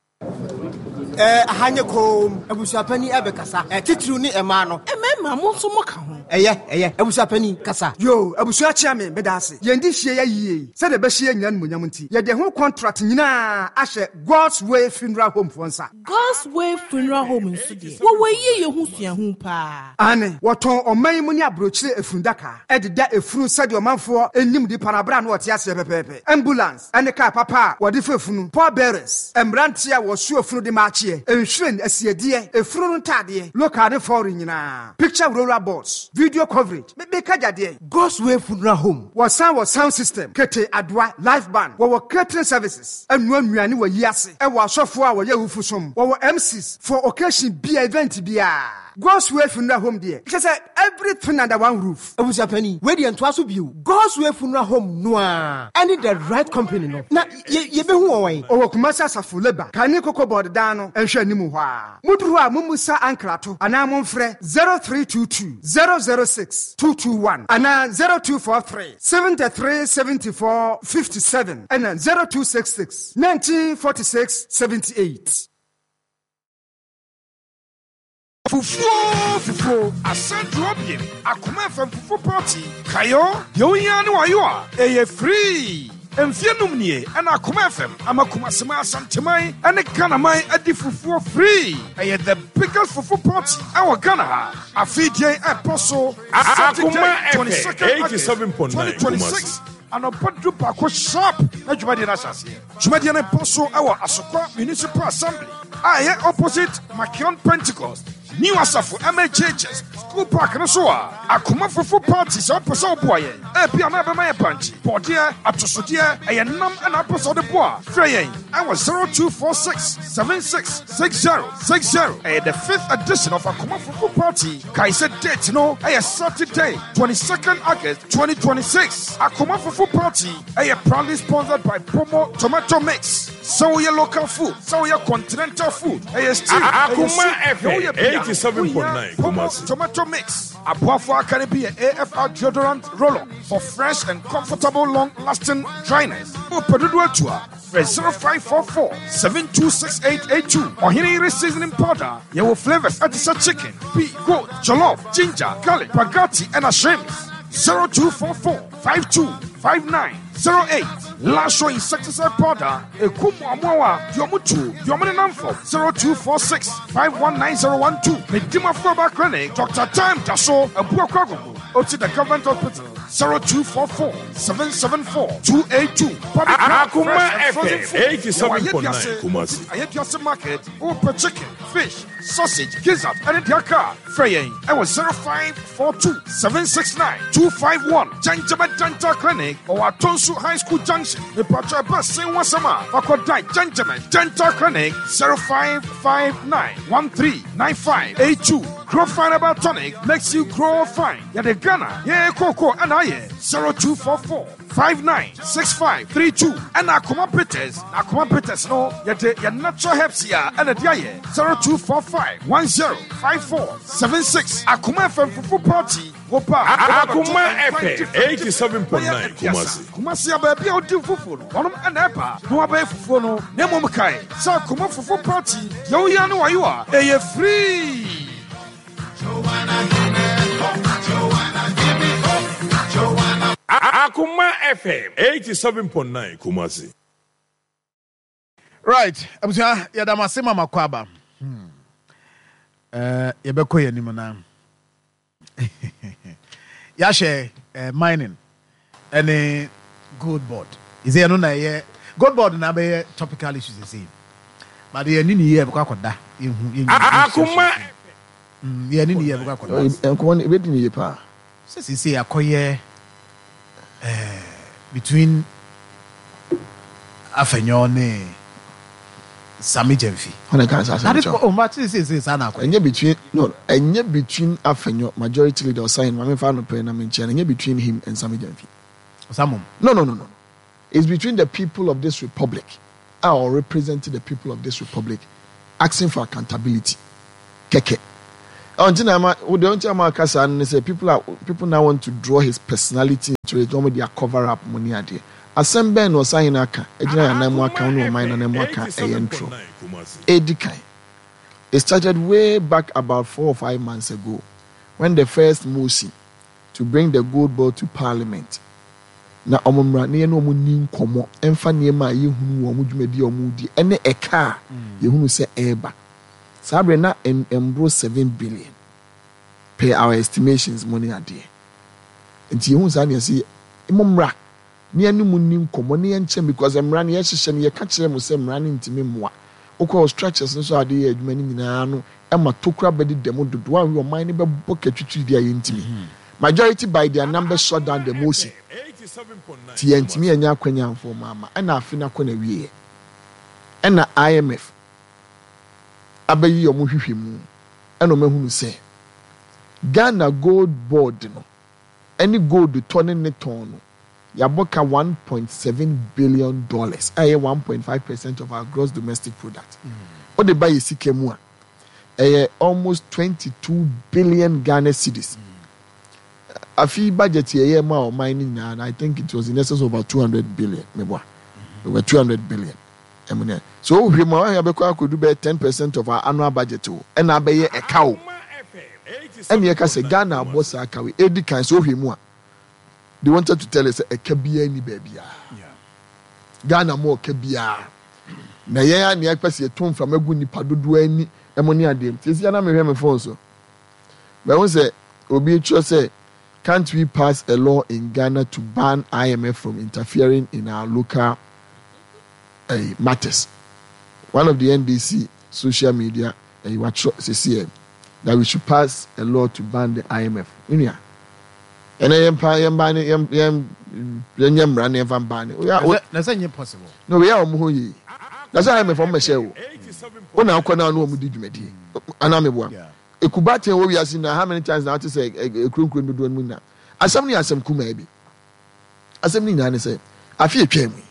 Eh, aha nyɛ koom. Abusuapanin ɛbɛkasa. Eh, titiriw ne mmaa no. Mmarima, mo nso moka ho. Ɛyɛ, ɛyɛ. Abusuapanin, kasa. Yoo, abusua kyea me, meda ase. Yɛn de hyia yɛ yie yi, sɛdeɛ ɛbɛhyɛ yɛn nyinaa animuonyam nti, yɛde ɛho contract nyinaa ahyɛ God's Way Funeral Home foɔ nsa. God's Way Funeral Home nso deɛ, wɔwɔ yieyɛ ho suahu paa. Aane, wɔtɔn ɔman yi mu ne aburokyire efundaka de da efunu sɛdeɛ ɔmanfoɔ nim nipa no aberɛ a na ɔte aseɛ pɛpɛɛpɛ. Ambulance ne kaa papa a wɔde fa efunu, pallbearers, mmeranteɛ a wɔsoa efunu de ma akyeɛ, nhwiren, asiedeɛ, efunu no ntaadeɛ, local ne foreign nyinaa, picture roller boards, video coverage, me meka gya deɛn? God's Way Funeral Home. Wɔsan wɔ sound system, kete, adoa, live band, wɔwɔ catering services, ɛnoa nnuane wɔ ayi ase, ɛwɔ asɔfoɔ a wɔyɛ awufo som, wɔwɔ MCs for occasion bia, event biara. God's Way Funeral Home deɛ, kyerɛ sɛ everything under one roof. Abusuapanin, wei deɛ ntoa so bio. God's Way Funeral Home no ara ɛne the right company no. Na yɛ yɛbɛhu wɔn wɛn? Ɔwɔ Kumasi Asafo Labour, kane Cocoa Board dan no nhwɛanimu hɔ ara. Moduru hɔ a mommisa ankrato anaa momfrɛ 0322 006 221 anaa 0243 73 74 57 ɛna 0266 19 46 78. Fufuo fufuo asan duro biem akoma fam fufu party kayo deɛ wohia ne wayo a ɛyɛ free mfie num nie ɛna akoma fm ama kumaseman asanteman ɛne ghanaman adi fufuo free ɛyɛ the biggest fufu party ɛwɔ ghana ha afei deɛ ɛbɔ so Akoma Saturday FM 22nd August 87.9 2026 Kumasi. anɔpa du baako sharp na dwumadie no ahyɛ aseɛ dwumadie no bɔ so ɛwɔ asokwa municipal assembly a ɛyɛ opposite makion pentecost new asafo mhhs school park no so a akoma fufu party sɛ wopɛ sɛ woboa yɛn ebia na ɛbɛma yɛ bankye bɔdeɛ atosodeɛ ɛyɛ nam ɛna apɛ sɛ wode boa frɛ yɛn ɛwɔ 0246 766060 ɛyɛ the fifth edition of akoma fufu party kae sɛ date no ɛyɛ saturday 22nd august 2026 akoma fufu party ɛyɛ proudly sponsored by pomo tomato mix sɛ woyɛ local food sɛ woyɛ continental food ɛyɛ stew ɛyɛ Akoma soup FM deɛ woyɛ bia, 87.9 wohia pomo Kumasi. tomato mix aboafo aka no bi yɛ afr deodorant roller for fresh and comfortable long lasting dryness wopɛ dodo atu a frɛ 0544 726882 ɔhene yere seasoning powder yɛwɔ flavors ɛte sɛ chicken beef goat jollof ginger garlic spaghetti ɛna shrimps 0244 525908 Lasho insecticide powder ekum amoawa deɛ ɔmo tu deɛ ɔmo nenam fam 0246 519012 Medimafo Herbal Clinic Dr. Time da so Abuakwa Agogo Oti the Government Hospital 0244 774 282 Public Health Akoma Fresh and Frozen FM Food Yɛwɔ 87.9 Ayeduase Kumasi. Ayeduase Market wopɛ chicken fish sausage gizzard ɛne deɛ aka a frɛ yɛn ɛwɔ 0542 769 251 Gyangyama Dental Clinic ɔwɔ Atonsu High School Junction mepatwa ɛba sen wasɛm a fakɔdan Gyangyama Dental Clinic 0559 139582 Grow Fine Herbal Tonic makes you grow fine yɛde Ghana yɛyɛ kooko ɛna ayɛ 0244 596532 ɛna akoma bitters na akoma bitters no yɛde yɛ natural herbs yi a ɛna de ayɛ 0245 105476 akoma fm fufu party woba Akoma FM 87.9 Kumasi. kumasi a baabi a wodi fufuo no wɔnom ɛna ɛba na wabɛyɛ fufuo no na mmom kae sɛ akoma fufu party deɛ woyɛ ne wayo a ɛyɛ free Akoma FM 87.9 Kumasi. Right, abusua yɛda mo ase ma makɔ aba. Hmm. Yɛbɛkɔ yɛn anim na yɛahyɛ mining ɛne gold board. Ɛsɛ ɛno na ɛyɛ gold board na abɛyɛ topical issues ɛsɛ yi. But yɛn ni yie yɛbɛkɔ akɔda yɛhu yɛn Akoma yɛn ni yie yɛbɛkɔ akɔda. Nkɔmɔ no ebedi ne yie paa. Sɛ sisi akɔyɛ Eh, between Afenyo ne Sammy Gyamfi. Hwan na ɛka saa asɛm kyerɛ wo? Oh, ma te sɛ saa na akɔyɛ. Ɛnyɛ between no, ɛnyɛ between Afenyo majority leader Ɔsahen ma memfa ano pɛ na menkyerɛ no, ɛnyɛ between him and Sammy Gyamfi. Ɔsamom. No, no, no, no. It's between the people of this republic a ɔ represent the people of this republic asking for accountability kɛkɛ. Ɔ nti na ama wo deɛ nti ama aka saa no ne sɛ people are people now want to draw his personality into it wɔn de a cover up mo ne adeɛ. Asɛm bɛn na ɔsahene aka agyina yɛn anan mu aka wo ne ɔman no anan mu aka ɛyɛ ntorɔ. Edi kan, it started way back about 4 or 5 months ago when the first motion to bring the gold board to parliament na wɔn mmra na yɛne wɔn nni nkɔmmɔ mfa nneɛma a yɛhunu wɔ wɔn dwumadi a wɔredi ne ɛka a yɛhunu sɛ ɛreba. Saa berɛ na ɛmboro 7 billion per our estimations mo ne adeɛ. Nti yɛhunu saa na yɛse mo mmra na yɛne mo nni nkɔmmɔ na yɛnkyerɛ because mmara no yɛhyehyɛ no yɛka kyerɛ mo sɛ mmara no ntumi mmoa. Wokɔ structures no so a wɔde yɛ adwuma no nyinaa no ma tokura bɛdeda mu dodo a ɔman no bɛbɔ katwitwiri a yɛntumi. Majority by their numbers shut down the motion. Nti yɛntumi annya akwanya amfa wɔn amma. Ɛna afe no akɔ n'awieɛ. Ɛna IMF abɛyi wɔn nhwehwɛmu ɛna wɔn ahunu sɛ Ghana Gold Board no ɛne gold tɔ ne ne tɔn no yɛabɔ ka $1.7 billion a ɛyɛ 1.5% of our gross domestic product. Wode ba yɛ sika mu a, ɛyɛ almost 22 billion Ghana cedis. Afi budget yɛyɛ ma ɔman no nyinaa no, I think it was in excess of about 200 billion, meboa, over 200 billion ɛmu ne so wohwɛ mu a wahwɛ abɛkɔ akɔdu bɛyɛ 10% of our annual budget o, ɛna abɛyɛ ɛka o. Ɛna yɛka sɛ Ghana abɔ saa ka wei. Edi kan sɛ wohwɛ mu a, they wanted to tell us sɛ ɛka biara ni baabiara, Ghana mu ɔka biara na yɛn a nea ɛpɛ sɛ yɛto mframa gu nipa dodoɔ ani ɛmo ne adeɛ mu sisi anam mehwɛ me phone so bɛho sɛ obi twerɛ sɛ, "Can't we pass a law in Ghana to ban IMF from interfering in our local matters?" One of the NDC social media watwerɛ sisi ɛ that we should pass a law to ban the IMF. Nua, ɛnɛ yɛn pa yɛn ban yɛn yɛn yɛn nyɛ mmara na yɛn fa ban ne. Na sɛ nyɛ possible. Na wei a wɔn ho yie na sɛ IMF wɔn mɛhyɛ o, wɔn na akɔ na ano wɔn di dwumadie anaa meboa ekuba ten wɔ wiase na how many times na ate sɛ ekuronkuro dodoɔ no mu nyinaa? Asɛm no yɛ asɛm kumaa bi. Asɛm no nyinaa ne sɛ afe etwa mu yi,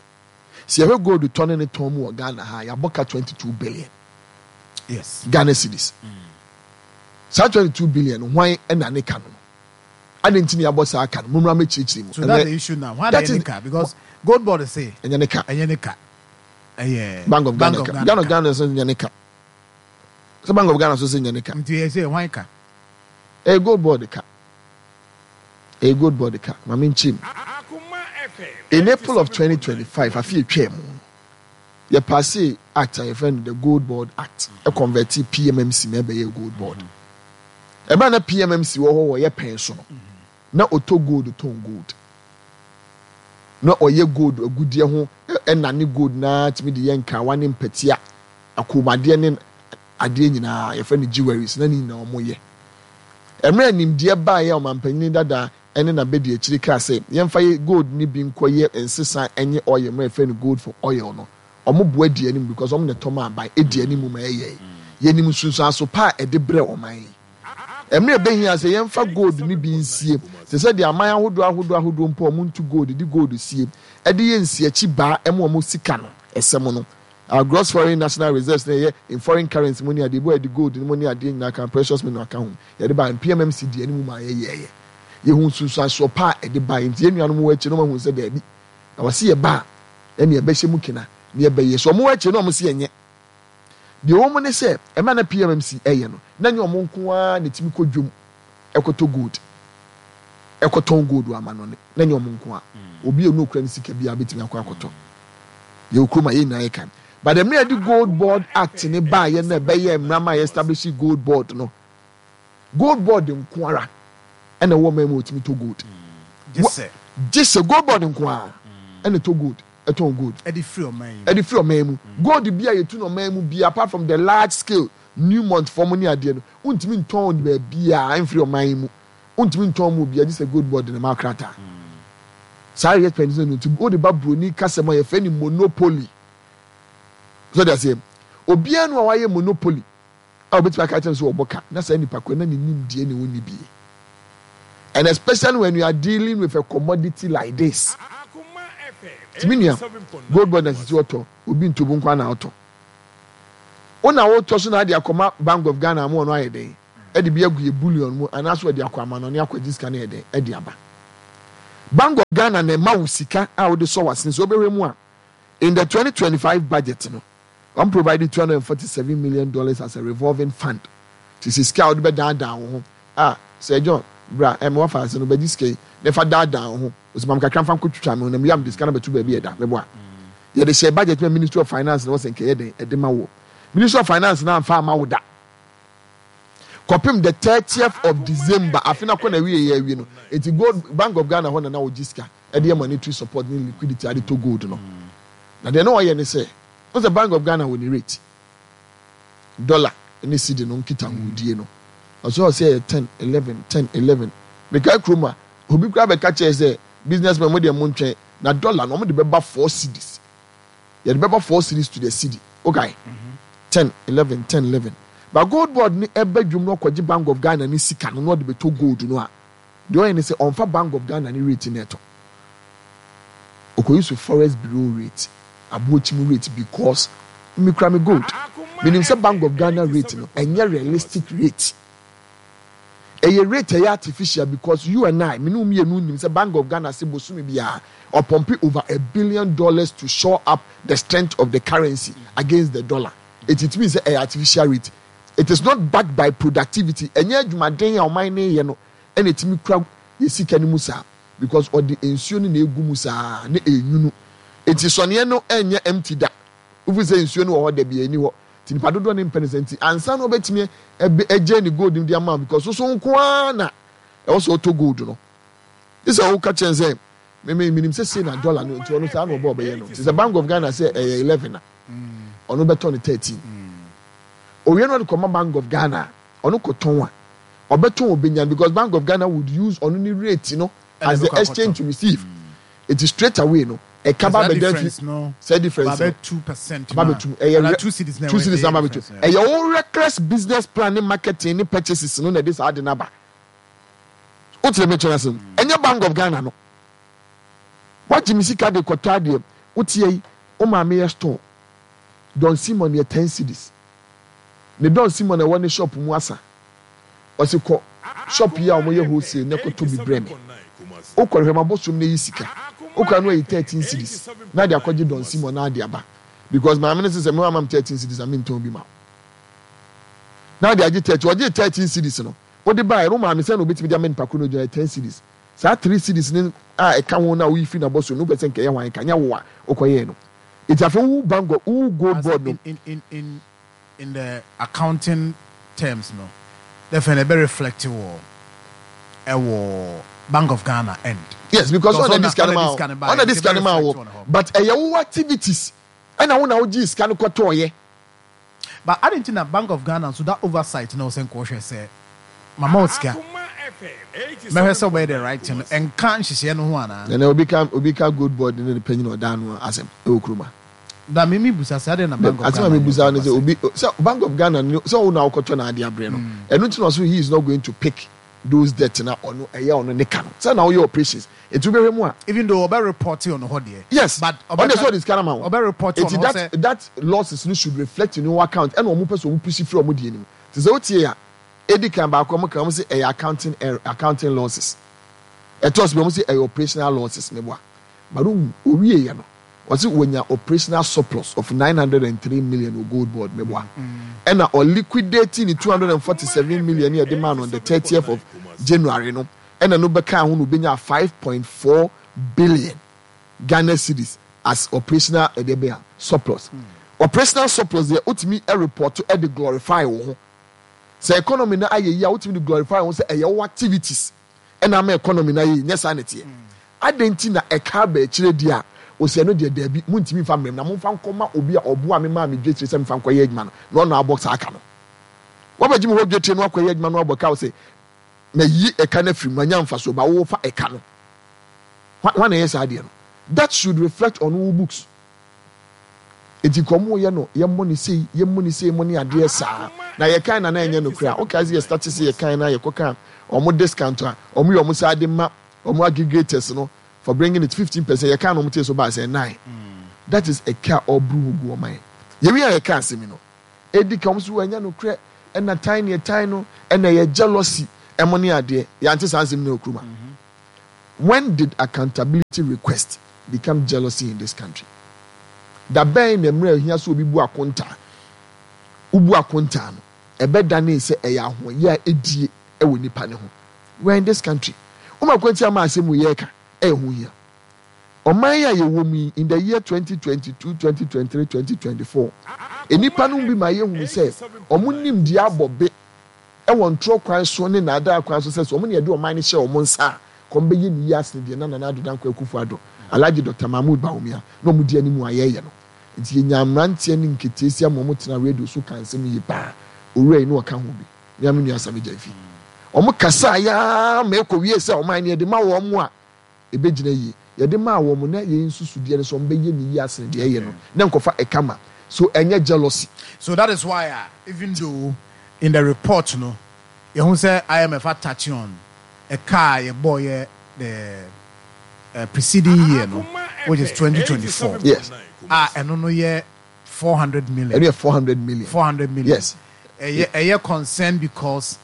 sɛ yɛhwɛ gold tɔ ne ne tɔn mu wɔ Ghana ha, yɛabɔ ka 22 billion Ghana cedis. Saa 22 billion, hwan ɛna ne ka no? Adi nti na yɛabɔ saa ka no? Mo mmra mɛkyerɛkyerɛ mu. So that's the issue now. Why na yɛ ne ka? Because gold board say. Ɛnyɛ ne ka. Ɛnyɛ ne ka. Ɛyɛ Bank of Ghana ka. Bank of Ghana nso nyɛ ne ka. Sɛ Bank of Ghana nso sɛ nyɛ ne ka. Nti yɛ sɛ hwan ka? Ɛyɛ gold board ka. Ɛyɛ gold board ka. Maame nkyɛn mu. In April of 2025, afi etwa mu, yɛ pass act a yɛfrɛ no the Gold Board Act, ɛ convert PMMC na ɛbɛyɛ Gold Board. Ɛbɛn na PMMC wɔ hɔ wɔ yɛ pɛn so no, na ɔtɔ gold, tɔn gold, na ɔyɛ gold agudeɛ ho, ɛnane gold naa tumi de yɛ nkawa ne mpɛtea, akɔnmuadeɛ ne adeɛ nyinaa yɛfrɛ no jewelries, na ne nyinaa wɔn yɛ. Mmerɛ nimdeɛ baeɛ a ɔmanpanyin dada ɛne n'abɛdi akyiri kaa sɛ yɛmfa yɛ gold ne bi nkɔyɛ nsesa ɛnyɛ oil mmerɛ yɛfrɛ no gold for oil no, wɔn boa di anim because wɔn na ɛtɔ ma aban edi anim ma ɛyɛ. Yɛnim nsunsuanso pa a ɛde brɛ ɔman yi. Mmerɛ ɛbɛhia sɛ yɛmfa gold no bi nsie te sɛ deɛ aman ahodoɔ ahodoɔ ahodoɔ mpo a wɔn ntu gold de gold sie ɛde yɛ nsiakyi baa ɛma wɔn sika no ɛsɛm no, our gross foreign national reserves na ɛyɛ in foreign currency mu ne adeɛ bi a yɛde gold no mu ne adeɛ nyinaa ka, precious mineral ka ho, yɛde ba PMMC di anim ma yɛyɛɛyɛ. Yɛhu nsunsuansoɔ pa a ɛde ba. Nti yɛn nuanom wɔ akyi no wɔn ahu sɛ daabi na wɔsi yɛ ba a ɛne ɛbɛhyɛ mu kena ne ɛbɛyɛ so. Wɔn wɔ akyi no wɔn si ɛnyɛ deɛ wɔn mu ne sɛ ɛma na PMMC ɛyɛ no na nyɛ wɔn nko ara na etimi kɔ dwom ɛkɔtɔ gold, ɛkɔtɔn gold wɔ amanɔne, na nyɛ wɔn nko ara. Obi a onu okura ne sika bi a betumi akɔ akɔtɔ yɛ okurom a yɛn nyinaa yɛ kan. But the mmerɛ yɛde Gold Board Act ne baa yɛ na ɛbɛyɛ mmara ma yɛ establish Gold Board no, Gold Board nko ara ɛna ɛwɔ ɔman mu a otumi tɔ gold. Gye sɛ Gold Board nko ara ɛna ɛtɔ gold, ɛtɔn gold. Ɛde firi ɔman yi mu. Ɛde firi ɔman mu. Gold bi a yɛtu no ɔman mu bi, apart from the large scale Newmont fam ne adeɛ no, wontumi ntɔn baabiara mfiri ɔman yi mu. Wontumi ntɔn mu obiara gye sɛ Gold Board ne ma krataa. Saa yɛ pɛn no nti wode ba broni kasa mu a yɛfrɛ no monopoly. So de aseɛ obiara no a wayɛ monopoly a obetumi aka akyerɛ no sɛ ɔbɔ ka na saa nipa korɔ na ne nimdeɛ na ɔnni bie. And especially when you are dealing with a commodity like this. Nti me nua, gold board na sisi ɔtɔ, obi ntobo nko na ɔtɔ. Wo na wotɔ so na ade akɔma Bank of Ghana ama ɔno ayɛ dɛn? Ɛde bi agu yɛ bullion mu anaasɛ ɔde akɔ amanɔne akɔgye sika no yɛ dɛn? Ɛde aba. Bank of Ghana na ɛma wo sika a wode sɔ w'asene sɛ wobɛhwɛ mu a in the 2025 budget no, wɔn provide $247 million as a revolving fund. Te sɛ sika a wode bɛdaadaa wo ho a Sir John, bra ɛ, mewɔ afaase no, bɛgye sika yi na fa daadaa wo ho. Ɔsɛ ma me kakra mfa nkɔtwitwa me ho na mewie a mede sika no abɛto baabi a ɛda. Meboa. Yɛde hyɛɛ budget ma Ministry of Finance na wɔsɛ nka ɛyɛ dɛn ɛde ma woɔ. Ministry of Finance no amfa amma wo da. Kɔpem the 30th of December, afe no akɔ n'awieɛ awie no, enti gold, Bank of Ghana hɔ na na wɔgye sika ɛde yɛ monetary support ne liquidity ade tɔ gold no. Na deɛ na ɔyɛ ne sɛ, wohu sɛ Bank of Ghana wɔ ne rate, dollar ne cedi no nkitahodie no, ɔsɛ ɔsɛ ɛyɛ 10, 11, 10, 11. Mekae kurom a, obi koraa bɛka kyerɛ sɛ businessmen mo deɛ montwɛn, na dollar no wɔde bɛba 4 cedis. Yɛde bɛba 4 cedis to the cedi. Wokae? 10, 11, 10, 11. But gold board no ɛba dwom no ɔkɔgye Bank of Ghana ne sika no na ɔde bɛtɔ gold no a, Deɛ ɔyɛ ne sɛ ɔnfa bank of Ghana ne rate na ɛtɔ. Ɔkɔ use forest bureau rate, aboɔkyi mu rate because me kura me gold. Menim sɛ bank of Ghana rate no ɛnyɛ realistic rate. Ɛyɛ rate ɛyɛ artificial because you and I, me ne wo mmienu nim sɛ bank of Ghana se bosome biara ɔpɔmpe over a billion dollars to shore up the strength of the currency against the dollar. Eti it means sɛ ɛyɛ artificial rate. It is not backed by productivity, ɛnyɛ adwumaden a ɔman no reyɛ no na ɛtumi kura yɛn sika no mu saa because ɔde nsuo no na ɛgu mu saa na ɛnwunu. Nti sɔneɛ no ɛnyɛ empty da. Wofi sɛ nsuo no wɔ hɔ da bi ɛnni hɔ. Nti nipa dodoɔ no mpɛ no saa nti ansa na ɔbɛtumi agye ne gold no de ama wo because soso nko ara na ɛwɔ sɛ ɔtɔ gold no. Gye sɛ woka kyerɛ no sɛ me me menim sɛ sei na dollar no nti ɔno saa na ɔbɔ ɔbɛyɛ no. Nti sɛ Bank of Ghana sɛ ɛyɛ 11 a ɔno bɛtɔ no 13. Owie no ɔde kɔma Bank of Ghana a, ɔno kɔtɔn a, ɔbɛtɔn obenya no because Bank of Ghana would use ɔno ne rate no as the exchange to receive. Eti straight away no, ɛka ba abɛda fi sɛ difference no aba abɛtum. Ɛyɛ two cedis na aba abɛtum. Ɛyɛ wo reckless business plan ne marketing ne purchases no na ɛde saa ade no aba. Wote deɛ mekyerɛ no ase no? Ɛnyɛ Bank of Ghana no. Woagye me sika de kɔtɔ adeɛ, woteɛ yi, wo maame yɛ store. Don Simon yɛ ten cedis. Ne Don Simon a ɛwɔ ne shop mu asa. Ɔse kɔ shop yi a wɔyɛ wholesale na kɔtɔ bi brɛ me. Wokɔ no hwɛ m'abɔsom na yi sika. Wokɔ a na wayi 13 cedis na ade akɔgye Don Simon na ade aba. Because maame no se sɛ me wamma me 13 cedis a mentɔn bi ma wo. Na ade agye 13. Ɔgyee 13 cedis no, wode baeɛ no wo maame sɛn na obetumi de ama nipa koro no ogyina 10 cedis. Saa 3 cedis no a ɛka ho no a woyi firi n'abɔsom no wopɛ sɛ nka ɛyɛ hwan ka? Nyɛ wo a wokɔyɛɛ no. Enti afei wo bank of wo gold board no. In in in in the accounting terms no, dɛfɛn ɛbɛ reflect wɔ ɛwɔ Bank of Ghana end. Yes, because ɔna di sika no ma wo, ɔna di sika no ma wo, but ɛyɛ wo activities ɛna wo na wo gye sika no kɔtɔɔ yɛ. But adɛn nti na Bank of Ghana nso that oversight no sɛ nkɔhwɛ sɛ mama wo sika mɛhwɛ sɛ wobɛyɛ the right thing no ɛnka nhyehyɛeɛ no ho anaa? Nana obi ka obi ka gold board ne ne panyin a ɔda ano asɛm ɛwɔ kurom a. Da me mi busa sɛ adɛn na Bank of Ghana Asɛm a mi busa ne sɛ obi sɛ Bank of Ghana ne sɛ wo na wokɔtɔ na ade abrɛ no ɛno nti na ɔso he is not going to pick those debt na ɔno ɛyɛ ɔno ne ka no sɛ na woyɛ operations nti wobɛhwɛ mu a. Even though ɔbɛ report ɔno hɔ deɛ. Yes but ɔno deɛ sɛ ɔde sika no ama wo ɔbɛ report ɔno hɔ sɛ. That losses no should reflect in your account ɛna ɔmo pɛ sɛ ɔmo pushi firi ɔmo deɛ no mu te sɛ wotie a edi kan baako ɔmo ka ɔmo se ɛyɛ accounting error accounting losses ɛtɔ so bi ɔmo se ɛyɛ operational losses meboa but owie yɛ no. Ɔse wanya operational surplus of 903 million wɔ gold board meboa ɛna ɔ liquidate ne 247 million ne yɛde maa no on the 30th of January no ɛna no bɛkaa ho na obɛnya 5.4 billion Ghana cedis as operational ɛdeɛ bɛn a surplus. Operational surplus deɛ wotumi report ɛde glorify wo ho sɛ economy no ayɛ yie a wotumi de glorify wo ho sɛ ɛyɛ wo activities ɛna ama economy no ayɛ yie nyɛ saa na ɛteɛ. Adɛn nti na ɛka aba akyire deɛ a, ɔsi ɛno deɛ daabi, montumi mfa mmrɛ me, na momfa nkɔma obi a ɔboaa me maa me dwetire sɛ memfa nkɔyɛ adwuma no, na ɔno abɔ saa ka no. Woabɛgye me hɔ dwetire no akɔyɛ adwuma no abɔ ka, ɔse, mayi ɛka no afiri mu, manya mfasoɔ, ba wofa ɛka no. Hwan na ɛyɛ saa adeɛ no? That should reflect on wo books. Enti nka ɔmo yɛ no yɛmmɔ no sei, yɛmmɔ no sei mo ne adeɛ saa. Na yɛkae na na ɛnyɛ nokorɛ a, wokae sɛ yɛ starte sɛ yɛkae na yɛkɔka ɔmo discount a ɔmo yɛ ɔmo saa de ma ɔmo aggregators no for bringing it 15% yɛkaa na ɔmo tee so baa sɛ nine. That is ɛka a ɔboro ho gu ɔman. Yɛwie a yɛka asɛm yi no, edi kan ɔmo so ɛnyɛ nokorɛ ɛna tan ne ɛtan no ɛna ɛyɛ jealousy ɛmo ne adeɛ. Yɛante saa nsɛm nyinaa wɔ kurom ha. When did accountability request become jealousy in this country? Da bɛn na mmerɛ a ɛhia sɛ obi bu akontaa, wobu akontaa no, ɛbɛdanee sɛ ɛyɛ ahoɔyɛ a ɛdie wɔ nipa no ho? We are in this country. Woma kwantia ma asɛm wei yɛreka ɛyɛ ho hia. Ɔman yi a yɛwɔ mu yi, in the year 2022, 2023, 2024, nnipa no bi ma yɛhunu sɛ wɔn nimdeɛ abɔ be wɔ ntorɔ kwan so ne nnaadaa kwan so sɛ sɛ wɔn na yɛde ɔman no hyɛ wɔn nsa a, ka wɔbɛyɛ no yie asene deɛ na Nana Addo Dankwa Akufo Addo, Alhaji Doctor Mahmood Bawumia na wɔn di anim a yɛreyɛ no. Nti yɛnyaa mmeranteɛ ne nketeesia ma wɔtenaa radio so kaa nsɛm yie paa. Owura yi na ɔka ho bi. Me ara me nua Sammy Gyamfi. Wɔn kasaeɛ ara ma ɛkɔwiee sɛ ɔman no yɛde ma wɔn a, ɛbɛgyina yie. Yɛde maa wɔn na yɛn nsusudeɛ ne sɛ wɔbɛyɛ no yie asene deɛ ɛyɛ no na nkɔfa ɛka ma. So ɛnyɛ jealousy. So that is why a even though in the report no yɛhu sɛ IMF a touch on ɛka a yɛbɔeɛ the preceding year no which is 2024 Yes. a ɛno no yɛ 400 million. Ɛno yɛ 400 million. 400 million. Yes. Ɛyɛ ɛyɛ concern because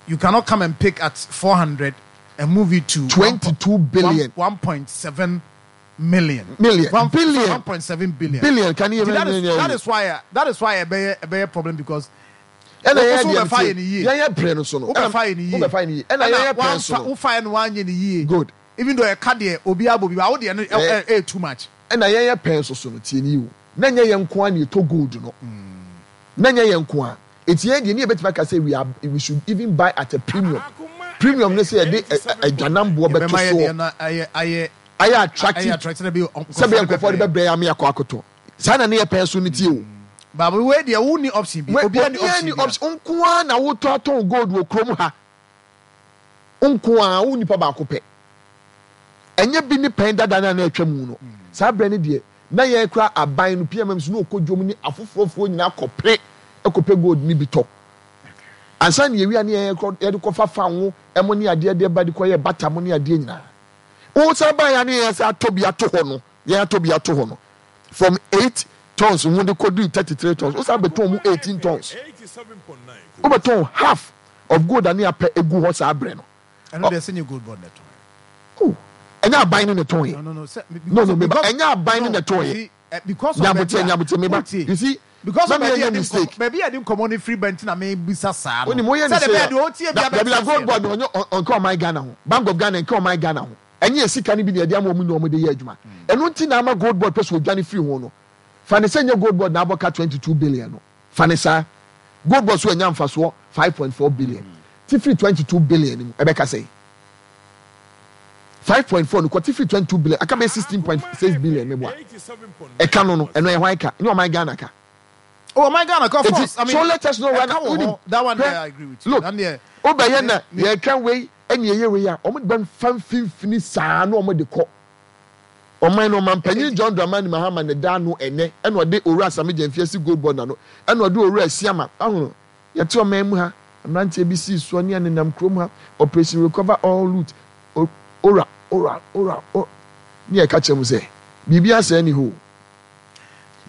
you cannot come and pick at 400 and move it to 22 billion. 1.7 million. Million. One, Billion. 1.7 billion. Billion. Can you Nti that even is that is why uh, that is why ɛbɛyɛ ɛbɛyɛ problem because ɛna yɛyɛ Wo so deɛ wobɛfa yɛ ne yie. yɛyɛ pere no so no wobɛfa yɛ ne yie wobɛfa yɛ ne yie ɛna yɛyɛ pere so no wofa yɛ no wanyɛ ne yie good even though ɛka deɛ obi abɔ bi ba wo deɛ no ɛ ɛ too much. Ɛna yɛyɛ pɛn so so no tie ne yie o na nyɛ yɛn nko ara na yɛtɔ gold no na nyɛ yɛn nko ara eti yɛn deɛ ne yɛbɛtumi aka sɛ we are we should even buy at a premium premium ne sɛ yɛde adwanamboɔ bɛto Yɛbɛma yɛ soɔ deɛ no ayɛ ayɛ ayɛ ayɛ attractive attractive bi sɛ bɛyɛ nkurɔfoɔ de bɛbrɛ yɛn ama yɛakɔ akɔtɔ saa na ne yɛ pɛn so no tie o. Baabi wei deɛ wo ni option bi obiara ni Obiara ni option bi option nko ara na wotɔ atɔn gold wɔ kurom ha nko ara wo nipa baako pɛ ɛnyɛ bi ne pɛn dada no a na atwa mu no saa berɛ no deɛ na yɛn kora aban no PMM so na ɔkɔ dwom ne afoforɔfoɔ nyinaa kɔpere kɔpɛ gold no bi tɔ ansa na yɛwia ne yɛn yɛde kɔfa fanwo ɛmo ne adeɛ deɛ ba de kɔyɛ bata mo ne adeɛ nyinaa wo san ba yɛn ne yɛn sɛ atɔ bi ato hɔ no yɛn atɔ bi ato hɔ no from 8 tons ho de kɔduru 33 tons wo san bɛtɔn mu 18 tons wobɛtɔn half of gold a ne apɛ egu hɔ saa berɛ no. Ɛno deɛ sɛ nyɛ gold board na ɛtɔn yɛ. Oh, ɛnyɛ aban no na ɛtɔn yɛ. No, no, no, sɛ, No, no, meba, ɛnyɛ aban no na ɛtɔn yɛ. Eh, because of Nyaboteɛ, baabi a, nyaboteɛ, meba. wotie. You see, Because na of meyɛ baabi a nyɛ yɛde nkɔmmɔ, mistake. baabi a yɛde nkɔmmɔ no firi ba nti na mebisa saa no. Wonim, woyɛ ne Sɛdeɛ sei ɛbɛyɛ a, deɛ ɔtie da, biara dabi bɛte na aseɛ gold no. board no, ɔnyɛ, ɔ, ɔnka ɔman Ghana ho. Bank of Ghana nka ɔman Ghana ho. Ɛnyɛ yɛ sika no bi na yɛde ama wɔn na wɔde yɛ adwuma. Ɛno nti na ama gold board pɛ sɛ wɔdwane firi ho no. Fa no sɛ nyɛ gold board na abɔ ka 22 billion no. Fa no saa. Gold board so anya mfasoɔ 5.4 billion. Te firi 22 billion no mu, ɛbɛka sɛn? 5.4 no kɔ te firi 22 billion, aka bɛyɛ 16.6 billion meboa. Ɛka no no, ɛno ɛyɛ hwan ka? Ɛnyɛ ɔman Ghana ka. Oh, ɔman Ghana ka, of Eti, course. I mean, so let us know ɛka wɔ wonim, hɔ. That one hwɛ, there, I agree with you. look, That there, wobɛyɛ na me, yɛka wei ɛne ɛyɛ wei a, wɔn de bɛfa mfimfini saa na wɔn de kɔ. Ɔman no ɔmanpanyin John Dramani Mahama na ɛda ano ɛnnɛ ɛna ɔde Owura Sammy Gyamfi asi Gold Board ano ɛna ɔde Owura Asiamah ahono yɛte ɔman mu ha mmeranteɛ bi sii soɔ ne anenam kurom ha Operation Recover All Loot Owura Owura Owura o ne yɛka kyerɛ mu sɛ biribi asɛe ni hɔ o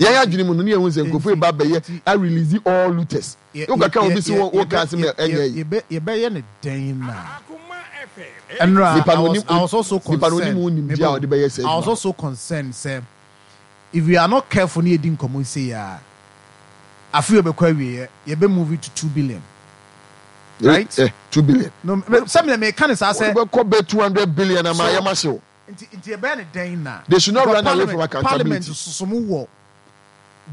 yɛn adwene mu no ne yɛhu sɛ nkurɔfoɔ ba bɛyɛ a release all looters wokaka obi si wo ka asɛm ɛnyɛ yi yɛbɛyɛ ne dɛn na ɛnora Nipa no I was, onim I was also nipa no onim concerned wo nimdeɛ a ɔde bɛyɛ saa I was adwuma no. also concerned sɛ if we are not careful ne yɛdi nkɔmmɔ yi sei a afe yi ɔbɛkɔ awieɛ yɛbɛ move it to 2 billion right? 2 billion. No, sɛ me meka ne saa sɛ Wode bɛkɔ bɛ 200 billion ama so ayɛ ma hyew. Nti ɛbɛyɛ ne dɛn na They should not because run away from parliament parliament accountability. soso mo wɔ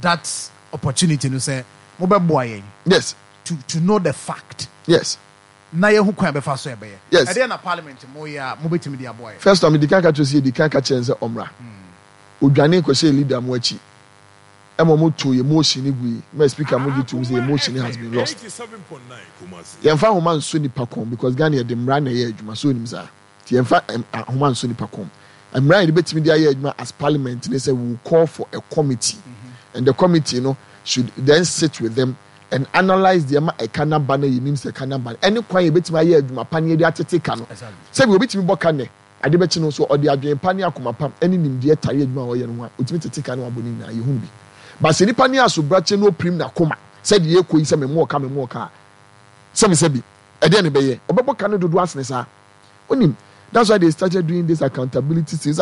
that opportunity no sɛ mobɛboa yɛn to know the fact na yɛhu kwan a bɛfa so ɛbɛyɛ. Ɛdeɛ na parliament mo yɛ a mobɛtumi de aboa yɛn? First one, medi kan ka kyerɛ sɛ yɛdi kan ka kyerɛ no sɛ ɔmmra. Odwane kɔhyɛɛ leader mo akyi ɛma ɔmo too yɛ motion no gui ma speaker mo gye tom sɛ yɛ motion no has been lost. Yɛmfa ahoma nsɔ nipa kɔn because Ghana yɛde mmara na ɛyɛ adwuma so onim saa. Nti yɛmfa ahoma nsɔ nipa kɔn. Mmara a yɛde bɛtumi de ayɛ adwuma as parliament ne sɛ we will call for a committee and the committee no should then sit with them and analyse deɛ ɛma ɛka no aba na yɛnim sɛ ɛka no aba no ɛne kwan a yɛbɛtumi ayɛ adwuma pa na yɛde atete ka no. Sɛbi obi tumi bɔ ka nnɛ, ade bɛkye no nso ɔde adwene pa ne akoma pa ne nimdeɛ tare adwuma a ɔyɛ no ho a, ɔtumi tete ka no abɔ ne nyinaa, yɛhunu bi. But sɛ nipa no yɛ asobrakye na ɔpirim n'akoma sɛ deɛ ɛrekɔ yi sɛ memmɔɔ ka memmɔɔ ka a, sɛbisɛbi, ɛdeɛn na ɛbɛyɛ? Ɔbɛbɔ ka no dodoɔ asene saa. Wonim, that's why they started doing this accountability thing.